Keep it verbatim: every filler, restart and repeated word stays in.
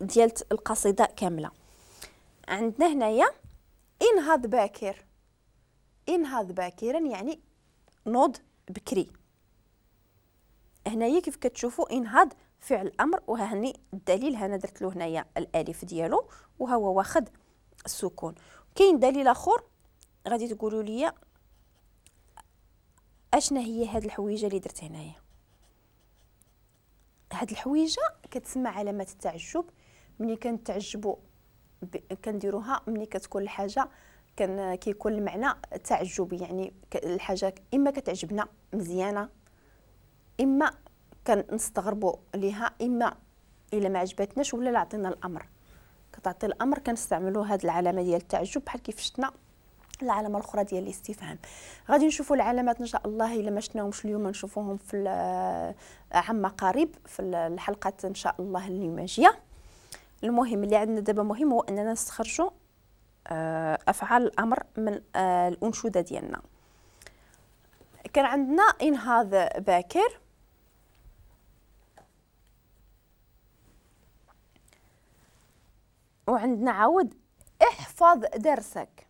ديال القصيدة كاملة. عندنا هنايا انهض باكر، انهض باكرا يعني نوض بكري. هنايا كيف كتشوفوا انهض فعل امر، وهاني الدليل هنا درت له هنايا الالف ديالو وهو واخد السكون. كاين دليل اخر غادي تقولوا لي اشنا هي هاد الحويجه اللي درت هنايا. هاد الحويجه كتسمى علامة التعجب. ملي كنتعجبوا كنديروها ملي كتكون الحاجة كان كيكون المعنى تعجبي، يعني الحاجة اما كتعجبنا مزيانه، اما كنستغربوا ليها، اما الا ما عجبتناش ولا لا عطينا الامر. كتعطي الامر كنستعملوا هاد العلامة ديال التعجب بحال كيف شفنا العلامة الاخرى ديال الاستفهام. غادي نشوفوا العلامات ان شاء الله، الا ما شفناهمش اليوم نشوفوهم في عما قريب في الحلقات ان شاء الله اللي ماجيه. المهم اللي عندنا دابا مهم هو اننا نستخرجوا افعال الامر من الانشوده ديالنا. كان عندنا انهاض باكر، وعندنا عاود احفظ درسك.